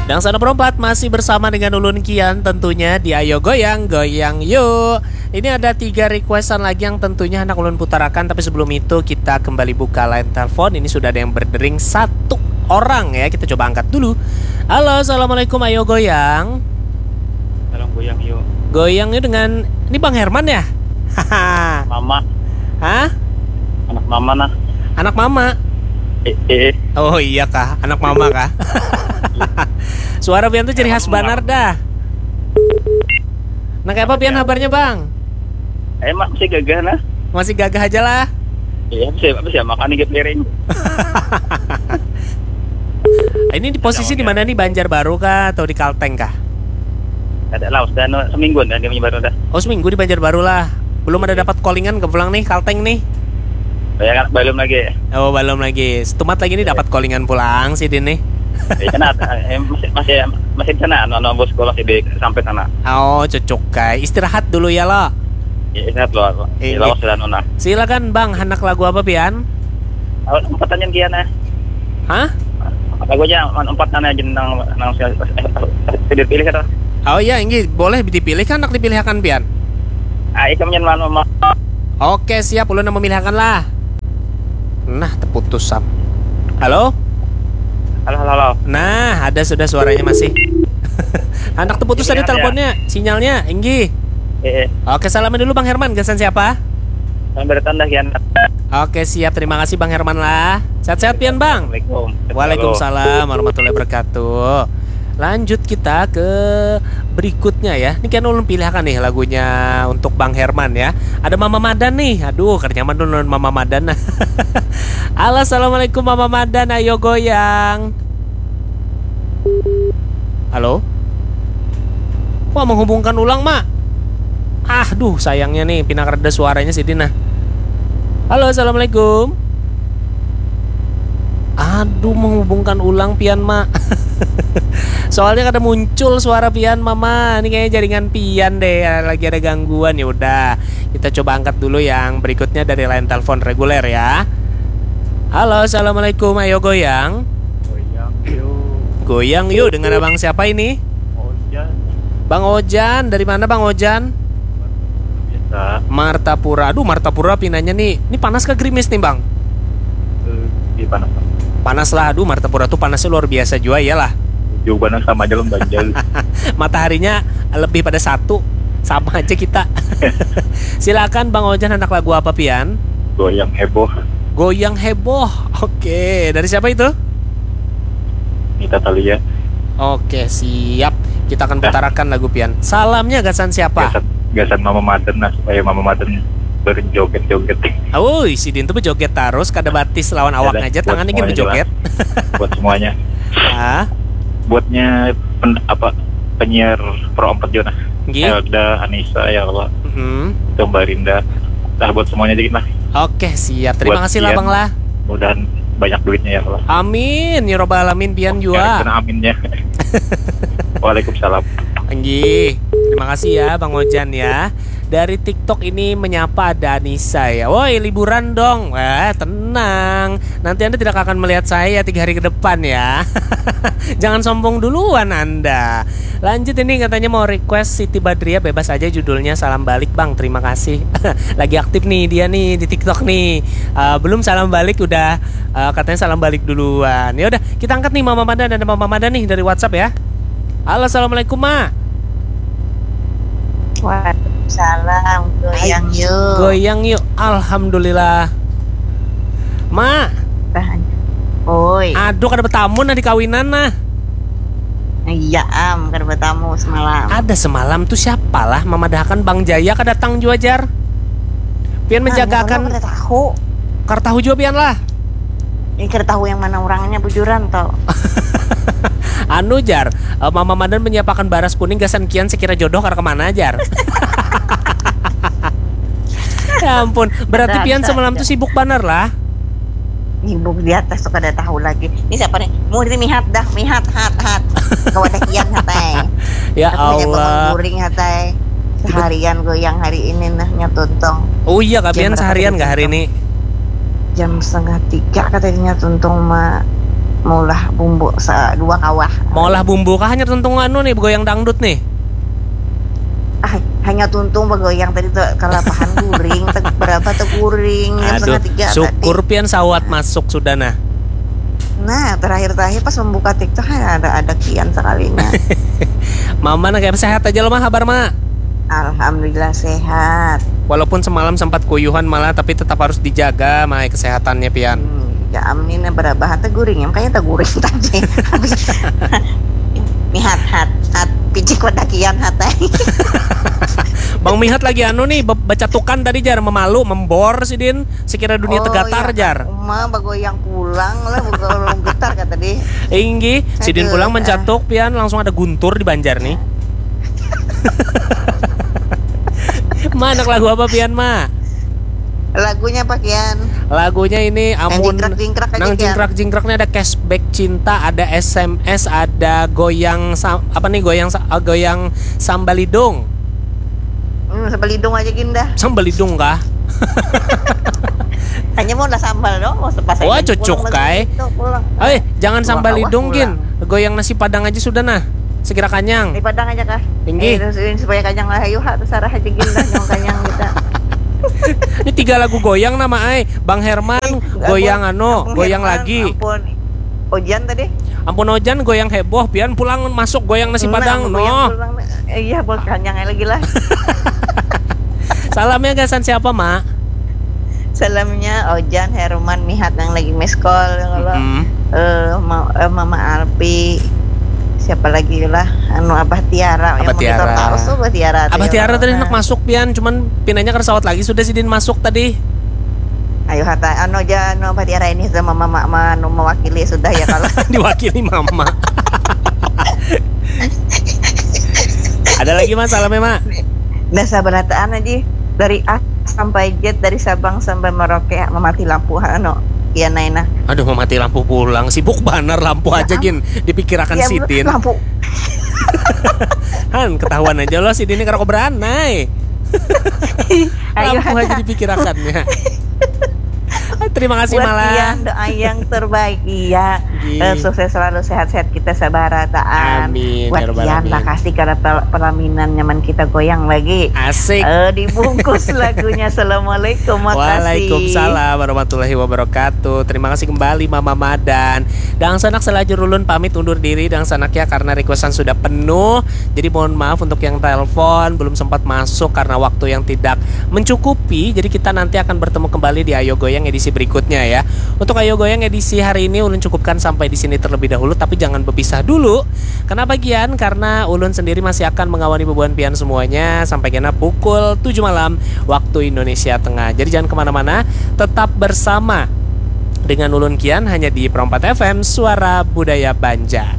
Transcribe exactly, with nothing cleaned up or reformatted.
Dan sana perempat masih bersama dengan ulun Kian tentunya di Ayo Goyang, Goyang Yuk. Ini ada tiga requestan lagi yang tentunya hendak ulun putarakan, tapi sebelum itu kita kembali buka line telepon. Ini sudah ada yang berdering satu orang ya, kita coba angkat dulu. Halo, assalamualaikum, Ayo Goyang. Salam goyang yuk. Goyang yuk dengan, ini Bang Herman ya? Haha. Mama, Hah? Anak mama nah. Anak mama? Eh, eh. Oh iya kah, anak mama kah? Suara pian tuh ciri khas banar dah. Nah, kayak apa pian kabarnya, Bang? Eh, mak masih gagah nah. Masih gagah aja lah. Iya, masih masih makan nih piring. Ini di posisi di mana nih, Banjarbaru kah atau di Kalteng kah? Ada lah, sudah anu, seminggu dah dia baru dah. Oh, seminggu di Banjarbaru lah. Belum ada dapat callingan ke pulang nih, Kalteng nih. Ya kan, belum lagi. Oh, belum lagi. Setumat lagi nih dapat callingan pulang sih, Din nih. Ya kan, ada- eh, masih masih masih di sana, anu, anu, bos sekolah sih di sampai sana. Oh, cucuk kai. Istirahat dulu ya lo. Ya, istirahat lo. Iya. Lawas sudah anu nah. Silakan Bang, hendak lagu apa pian? Awas, empat aja kian eh. Hah? Lagunya man empat nana aja nang nang sudah dipilih kata. Oh iya, inggih, boleh dipilih kan, hendak dipilihakan pian? Ah, ikam jangan malu. Oke, siap, ulun nang memilihakan lah. Nah, terputus sam. Halo? Halo, halo, halo. Nah, ada sudah suaranya masih. Anak terputus Ini tadi ada. Teleponnya, sinyalnya, inggih. Eh, eh. Oke, salaman dulu Bang Herman, gasan siapa? Selamat datang dah kian. Oke, siap. Terima kasih Bang Herman lah. Sehat-sehat pian, Bang. Assalamualaikum. Waalaikumsalam warahmatullahi wabarakatuh. Lanjut kita ke berikutnya ya. Ini kan ulun pilihakan nih lagunya untuk Bang Herman ya. Ada Mama Madan nih. Aduh, kada nyaman dulu Mama Madan. Halo, assalamualaikum Mama Madan. Ayo goyang. Halo? Wah, menghubungkan ulang, Mak. Ah, duh, sayangnya nih, pina reda suaranya sidin nah. Halo, assalamualaikum. Aduh, menghubungkan ulang pian, Mak. Soalnya kada muncul suara pian, Mama. Ini kayaknya jaringan pian deh, lagi ada gangguan. Ya udah, kita coba angkat dulu yang berikutnya dari line telepon reguler ya. Halo, assalamualaikum. Ayo goyang. Goyang yuk. Goyang yuk, dengan abang siapa ini? Ojan. Bang Ojan, dari mana Bang Ojan? Biasa. Martapura. Aduh, Martapura pinanya nih. Ini panas ke gerimis nih, Bang? Eh, di panas. Panas lah, aduh, Martapura tuh panasnya luar biasa juga ya lah. Jauh banget sama aja lo banjir. Mataharinya lebih pada satu, sama aja kita. Silakan Bang Ojan, anak lagu apa pian? Goyang heboh. Goyang heboh. Oke, dari siapa itu? Nita Thalia. Oke, siap. Kita akan putarakan lagu pian. Salamnya gasan siapa? Gasan, gasan Mama Madan lah, supaya Mama Madan berjoget-joget. Ui, sidin tuh berjoget terus, kada batis lawan awak aja, tangan ini berjoget. Buat semuanya. Ah, Buatnya pen, apa penyiar Pro empat juga nah. Nggih. Elda, Anissa, ya Allah. mhm. Itu Mbak Rinda. Nah, buat semuanya dikit lah. Oke, siap. Terima Buat kasih lah, pian. Bang lah. Mudahan banyak duitnya ya Allah. Amin ya robbal alamin, pian Ya, juga. kena aminnya. Waalaikumsalam. Nggih. Terima kasih ya Bang Ojan ya. Dari TikTok ini menyapa ada Anissa ya. Woi, liburan dong. Wah, tenang. Nanti Anda tidak akan melihat saya tiga hari ke depan ya. Jangan sombong duluan Anda. Lanjut, ini katanya mau request Siti Badriah, bebas aja judulnya, Salam Balik Bang. Terima kasih. Lagi aktif nih dia nih di TikTok nih. Eh, belum salam balik udah, eh, katanya salam balik duluan. Ya udah, kita angkat nih Mama Madan, ada Mama Madan nih dari WhatsApp ya. Halo, assalamualaikum Ma. Waalaikumsalam. Goyang yuk. Goyang yuk. Alhamdulillah. Ma, Oi. Aduh, kada betamu nah di kawinan nah. Iya am, kada betamu semalam. Ada semalam tuh siapa lah memadahakan Bang Jaya kada datang jua, jar. Pian menjagakan. Kada tahu. Kada tahu jua pian lah. Ini kada tahu yang mana orangnya bujuran toh. Anu, jar, eh, Mama Madan menyiapakan baras kuning gasan kian sekira jodoh kada kemana, jar. Ya ampun, berarti pian semalam tuh sibuk banar lah. Nibuk di atas tuh kada tahu lagi. Ini siapa nih? Mau diri mihat dah, mihat, hat, hat. Kawadah kian hat ai. Ya Aku punya bangun Allah. Guring hat ai. Seharian goyang hari ini nah, nya tuntung. Oh iya, kapian Jam berapa seharian tadi kah hari tuntung? Ini? Jam setengah tiga katanya tuntung ma. maulah bumbu sa- dua kawah. Maulah bumbu kah hanyar tuntung anu nih, begoyang dangdut nih? Ah, hanyar tuntung begoyang tadi tuh kalapahan guring, teg- berapa tuh guring jam Aduh, setengah tiga syukur tadi. Pian sawat masuk sudah nah. Nah, terakhir-terakhir pas membuka TikTok, hai, ada ada Kian sekalinya. Mama nah kayak sehat aja loh mah, kabar mah? Alhamdulillah sehat. Walaupun semalam sempat kuyuhan malah, tapi tetap harus dijaga mah kesehatannya Pian. Hmm, ya amin, berapa hata guring ya, makanya tak guring tadi. Habis mihat hat hat picik wadakian hatai. Bang Mihat lagi anu nih, be- bacatukan tadi jar, memalu, membor sidin, sekira dunia Oh, tegatar iya. Jar. Uma bagoyang pulang lah, bukan getar kata deh. Inggih, sidin Aduh, pulang ah. Mencatuk Pian, langsung ada guntur di Banjar nih. Ma, anak lagu apa Pian Ma? Lagunya Pak Kian. Lagunya ini amun jingkrak-jingkrak aja, nang Kian. Jingkrak-jingkraknya ada cashback cinta, ada S M S, ada goyang sa- apa nih, goyang sa- ah, goyang sambalidung. Hmm, sambalidung aja gin dah. Sambalidung kah? Hanya mau lah sambal dong, mau sepas Wah, aja. cocok, Pulang kai. lagi itu, pulang. Eh, jangan Dua sambalidung kawah gin. pulang. Goyang nasi padang aja sudah nah. Sekira kanyang. Di Padang aja kah? Inggih. Eh, terus ini supaya kanyang lah, ayo ha, terserah aja gin dah, nyong kanyang kita. Ini tiga lagu goyang nama ai. Bang Herman, goyang anu, Ampun, goyang Herman, lagi. Ampun. Ojan tadi. Ampun Ojan, goyang heboh. Pian pulang masuk goyang nasi Nah, padang goyang noh. Pulang. Eh, iya, buat kanyang lagi lah. Salamnya gasan siapa, Ma? Salamnya Ojan, Herman, Mihat yang lagi miss call kalau Mm-mm. eh, ma- eh, Mama Alpi, siapa lagi lah, anu, Abah Tiara yang Abah monitor Tiara. terus tuh, Abah Tiara tadi. Abah Tiara tadi Nah. Hendak masuk Pian, cuman pinanya kada sawat lagi sudah sidin masuk tadi. Ayo hata anu aja, anu, Abah Tiara ini sama mama ma- anu mewakili sudah ya kalau. Diwakili mama. Ada lagi, Ma, salamnya, Ma? Nah, sabarataan aja dari A sampai Z, dari Sabang sampai Merauke, memati lampu anu, iya naina. Aduh, memati lampu pulang. Sibuk banar lampu aja gin dipikirakan Ya, sidin. Lampu. Han, ketahuan aja loh sidin ini kada beranai. Ayo, Lampu aja ada. Dipikirakannya. Terima kasih Buat malah. Kian, doa yang terbaik. Iya. Gih. Eh, sukses selalu, sehat-sehat kita sabarataan. Amin, Buat ya rabbal Kian, alamin. Makasih karena pel- pelaminan nyaman kita goyang lagi. Asik. Eh, dibungkus lagunya. Assalamualaikum, makasih. Waalaikumsalam warahmatullahi wabarakatuh. Terima kasih kembali Mama Madan. Dangsanak, salajur ulun pamit undur diri Dangsanak ya, karena requestan sudah penuh. Jadi mohon maaf untuk yang telepon belum sempat masuk karena waktu yang tidak mencukupi. Jadi kita nanti akan bertemu kembali di Ayo Goyang edisi berikutnya ya. Untuk Ayo Goyang edisi hari ini ulun cukupkan sampai di sini terlebih dahulu, tapi jangan berpisah dulu. Kenapa Gian? Karena ulun sendiri masih akan mengawani bubuhan pian semuanya sampai kena pukul tujuh malam waktu Indonesia Tengah. Jadi jangan kemana-mana, tetap bersama dengan ulun Kian hanya di Pro empat F M, Suara Budaya Banjar.